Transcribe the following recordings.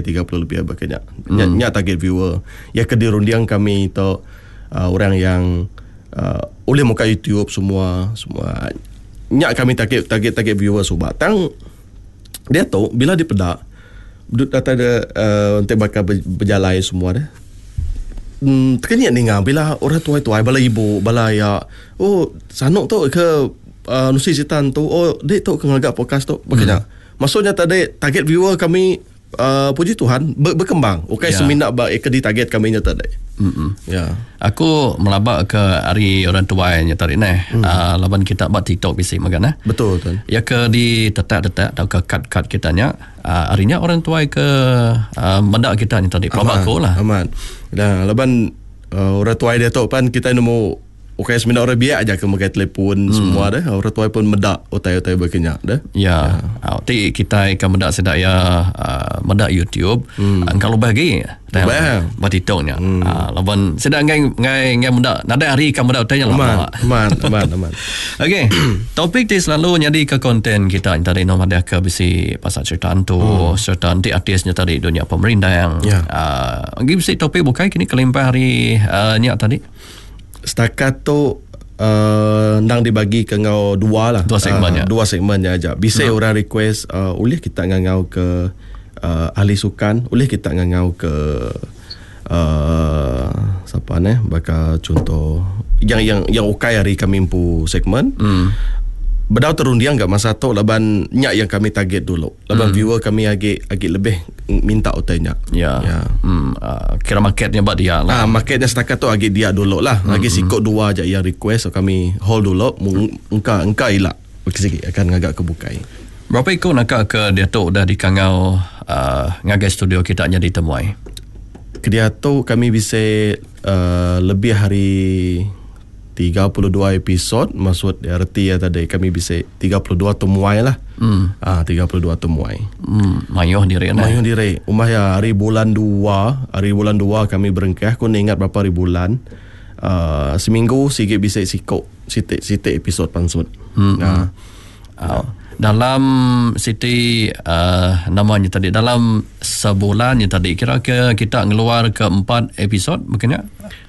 30 lebih baka nya. Nya, nya target viewer. Ya ke dirunding kami tu uh, orang yang uh, ulih muka YouTube semua semua. Nya kami target target target viewer suba. Tang dia tu bila dipeda duduk datai de uh, enti baka bejalai semua deh. Hmm, tekenyit ninga bila orang tuai-tuai bala ibu bala aya oh sanu tu ke uh, nusi sitan tu oh dik tu ke ngaga podcast tu baka nya. Maksudnya tadi target viewer kami uh, puji Tuhan ber, berkembang. Ukai yeah. semina ba ke di target kami nya tadi. Mm-mm. Ya. Yeah. Aku melaba ke ari orang tuai nya tadi neh. Mm. Uh, laban kita ba TikTok bisi mega neh. Betul tuan. Ya ke di tetak-tetak tauka cut-cut kita nya uh, ari nya orang tuai ke uh, meda kita nya tadi. Pelaba aku lah. Amat. Dah laban uh, orang tuai dia tu pan kita nemu Ukai semina orang biak aja ke megai telefon hmm. semua deh. Orang tuai pun meda utai-utai baka nya deh. Ya. ya. Ti kitai ke meda sida ya uh, meda YouTube hmm. engka lubah agi. Lubah. Ba TikTok nya. Hmm. Uh, laban sida ngai ngai ngai meda nadai hari ka meda utai nya lama. Aman, aman, aman. Okey. Topik ti selalu nyadi ke konten kita tadi no madah ke bisi pasal cerita hantu hmm. serta enti artis nya tadi dunia pemerindang. Ya. Uh, agi bisi topik bukai kini kelimpah hari uh, nya tadi. Setakat tu uh, endang dibagi ke enggau dua lah. Dua segmen uh, ya. Dua segmen nya aja. Bisi hmm. orang request uh, ulih kita ngangau ke uh, ahli sukan, ulih kita ngangau ke uh, siapa ne baka contoh yang yang yang ukai hari kami empu segmen. Hmm. Bedau terunding gak masa tu laban nya yang kami target dulu. Laban hmm. viewer kami agi agi lebih minta utai nya. Ya. Ya. Hmm. Uh, kira marketnya ba dia lah. Ah, marketnya setakat tu agi dia dulu lah. Hmm. Agi sikok dua aja yang request so kami hold dulu engka engka ila sikit akan ngagak ke bukai. Berapa iku naka ke diatu udah dikangau uh, ngagai studio kita nyadi temuai? Ke diatu kami bisi uh, lebih hari 32 episod maksud reti iya tadi kami bisi 32 temuai lah. Hmm. Ah 32 temuai. Hmm, mayuh diri nah. Mayuh diri. Umbah iya hari bulan 2, hari bulan 2 kami berengkah ku ingat berapa hari bulan. Uh, seminggu sigi bisi siko siti siti episod pansut. Hmm. Uh. Uh, dalam siti uh, namanya tadi dalam sebulan nya tadi kira ke kita ngeluar ke empat episod mungkin ya?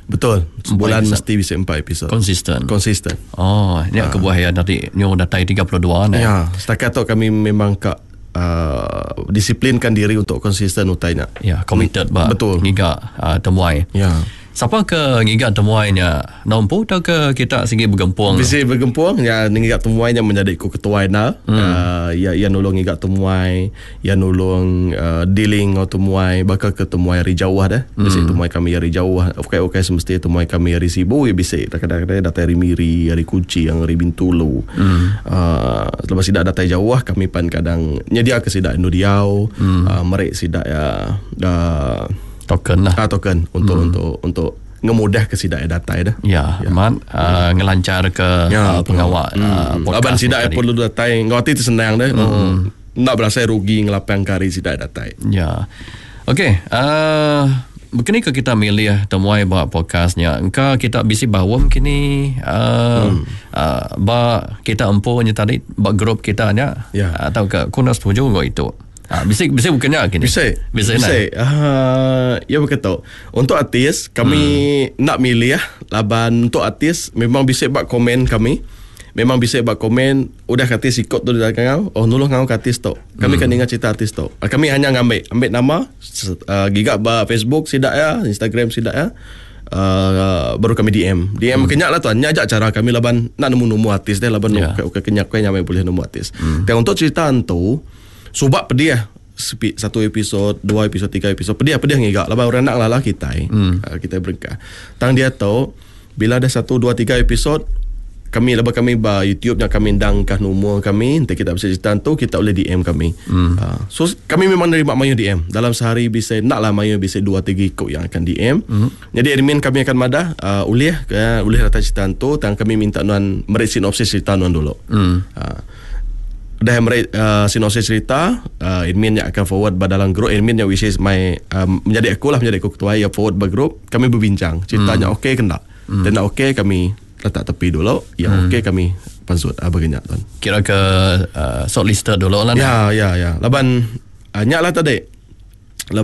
Betul. Sebulan mesti bisa empat episod. Konsisten. Konsisten. Oh, ni ha. kebuah ya tadi nyu datai 32 ni. Ya, setakat tu kami memang kak uh, disiplinkan diri untuk konsisten utai nya. Ya, committed ba. Betul. Ngiga uh, temuai. Ya. Sapa ke ngiga temuai nya? Nompu atau ke kita sigi begempung? Bisi begempung ya ngiga temuai nya menjadi ku ketuai na. Hmm. Uh, ya ya nulung ngiga temuai. Iya nulung dealing enggau temuai baka ke temuai ari jauh deh. Bisi temuai kami ari jauh ukai ukai semesti temuai kami ari Sibu iya bisi kadang-kadang datai ari Miri, ari Kuching, ari Bintulu. uhh lepas sida datai jauh kami pan kadang nyediaka sida endur diau uhh meri sida iya uhh Token lah. Ah token untuk untuk untuk ngemudahka sida iya datai deh. Ya, amat uh, ngelancharka Ya, uh, pengawa uh, podcast. Laban sida ni tadi. perlu datai enggau ati ti senang deh. Hmm. Enda berasai rugi ngelapangka hari sida datai. Ya. Okey, uh, begini ke kita milih temuai ba podcast nya. Engka kita bisi baum kini uh, hmm. uh, ba kita empu nya tadi ba grup kita nya ya. atau ke ku enda setuju enggau itu. Uh, bisi bisi bukan nya kini. Bisi. Bisi. Bisi. Uh, ya begitu. Untuk artis kami hmm. nak milih laban untuk artis memang bisi ba komen kami. Memang bisi ba komen udah ke artis ikut tu dia ngau oh nulung ngau ke artis tu. Kami hmm. kan ninga cerita artis tu. Ah, kami hanya ngambil ambil nama uh, giga ba Facebook sida ya, Instagram sida ya. Uh, baru kami DM. DM hmm. kenyak lah tuan. Nya aja cara kami laban nak nemu-nemu artis deh laban yeah. okey kenyak kai nyamai boleh nemu artis. Hmm. Dan untuk cerita tu subak pedih satu episod, dua episod, tiga episod pedih pedih ngiga laban orang nak lah kita. Hmm. Uh, kita berengkah. Tang dia tu Bila dah satu dua tiga episod kami lepas kami ba YouTube nya kami endang kah nomor kami enti kita bisi cerita tu kita boleh DM kami. Hmm. Uh, so kami memang nerima mayuh DM dalam sehari bisa nak lah mayuh bisa dua tiga ikut yang akan DM. Hmm. Jadi admin kami akan madah uh, ulih uh, ulih datang cerita tu tang kami minta nuan meri sinopsis cerita nuan dulu. Hmm. Uh, dah meri uh, sinopsis cerita uh, admin yang akan forward ba dalam group admin yang which is my um, menjadi aku lah menjadi aku ketua ya forward ba group kami berbincang ceritanya hmm. okey ke tak hmm. Dan nak okey kami letak tepi dulu yang hmm. okey kami pansut ah banyak tuan kira ke uh, shortlisted dulu lah ya ya ya laban uh, nyak lah tadi.